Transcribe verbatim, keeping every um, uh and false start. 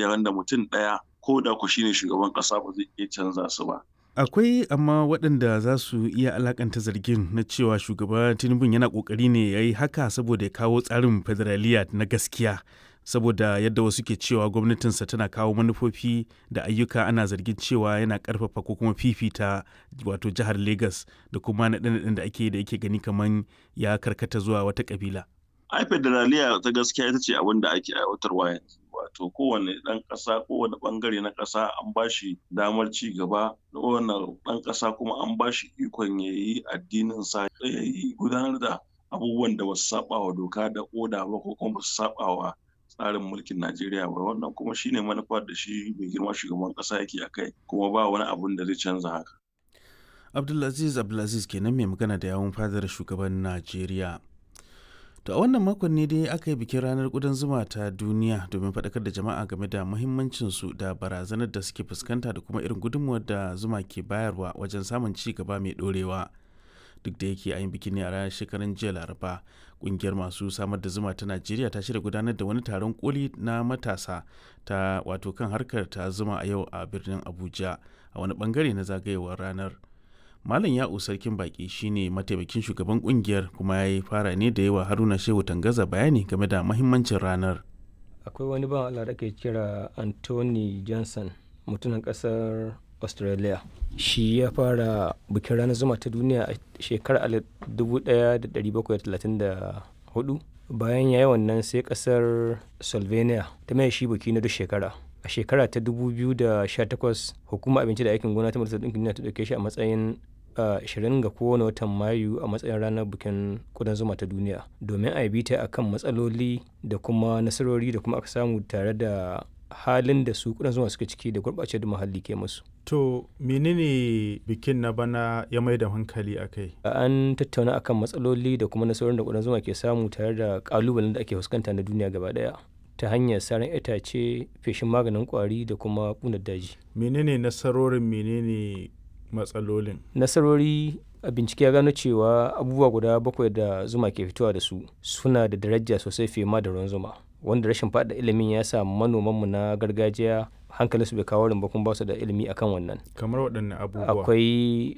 Wanda mutum ɗaya ko da ku shine shugaban ƙasa ba zai iya canza su ba. Akwai amma waɗanda za su iya alakanta zargin na cewa Shugaba Tinubu yana ƙoƙari ne ya yi haka saboda ya kawo tsarin federaliya na gaskiya, saboda yadda wasu ke cewa gwamnatinsa tana kawo manufofi da ayyuka ana zargin cewa yana ƙarfafa ko kuma fifita wato jihar Legas da kuma naɗe-naɗen da ake yi da yake gani kamar ya karkata zuwa wata ƙabila. Ai federaliya ta gaskiya ita ce abin da ake aiwatarwa yanzu. Wato kowane ɗan ƙasa, kowane ɓangare na ƙasa an ba shi damar ci gaba, kowane ɗan ƙasa kuma an ba shi ikon ya yi addininsa, ya yi gudanar da abubuwan da ba su saɓa wa doka da oda ba ko kuma ba su saɓa wa tsarin mulkin Najeriya ba. Wannan kuma shine manufar da shi mai girma shugaban ƙasa yake a kai, kuma ba wani abun da zai canza haka. Abdulaziz Abdulaziz kenan mai magana da yawun fadar shugaban Najeriya. To a wannan makon ne dai aka yi bikin ranar ƙudan zuma ta duniya domin faɗakar da jama'a game da muhimmancinsu da barazanar da suke fuskanta da kuma irin gudunmuwar da zuma ke bayarwa wajen samun ci gaba mai ɗorewa. Duk da yake an yi bikin ne a ranar shekaran jiya Laraba, ƙungiyar masu samar da zuma ta Najeriya ta shirya gudanar da wani taron koli na matasa ta wato kan harkar ta zuma a yau a birnin Abuja a wani bangare na zagayowar ranar. Malam Ya'u Sarkin Baki shine mataimakin shugaban kungiyar kuma ya yi fara ne da yawa Haruna Shehu Tangaza bayani game da mahimmancin ranar. Akwai wani bawan Allah da ake kira Anthony Johnson, mutumin kasar Australia. Shi ya fara bikin ranar zuma ta duniya a shekarar alif dubu ɗaya da ɗari bakwai da talatin da huɗu. Bayan ya yi wannan, sai kasar Slovenia ta mai shi biki na duk shekara. A shekara ta dubu biyu da sha takwas, Hukumar Abinci da Aikin Gona ta Majalisar Ɗinkin Duniya ta ɗauke shi a matsayin ashirin ga kowane watan Mayu a matsayin ranar bikin ƙudan zuma ta duniya, domin a yi bita a kan matsaloli da kuma nasarori da kuma aka samu, tare da halin da su ƙudan zuma suke ciki da gurɓacewar da muhalli ke musu. To menene bikin na bana ya mai da hankali a kai? An tattauna akan matsaloli da kuma nasarorin da ƙudan zuma ke samu, tare da ƙalubalen da ake fuskanta na duniya gaba ɗaya, ta hanyar saran itace, feshin maganin ƙwari da kuma ƙunar daji. Menene nasarorin, menene matsalolin? Nasarori, a bincike ya gano cewa abubuwa guda bakwai da zuma ke fitowa da su suna da daraja sosai fiye ma da ruwan zuma. Wanda rashin faɗa ilimin ya sa manomanmu na gargajiya hankalinsu bai kawo wurin ba, kuma ba su da ilimi akan wannan. Kamar waɗanne abubuwa? Akwai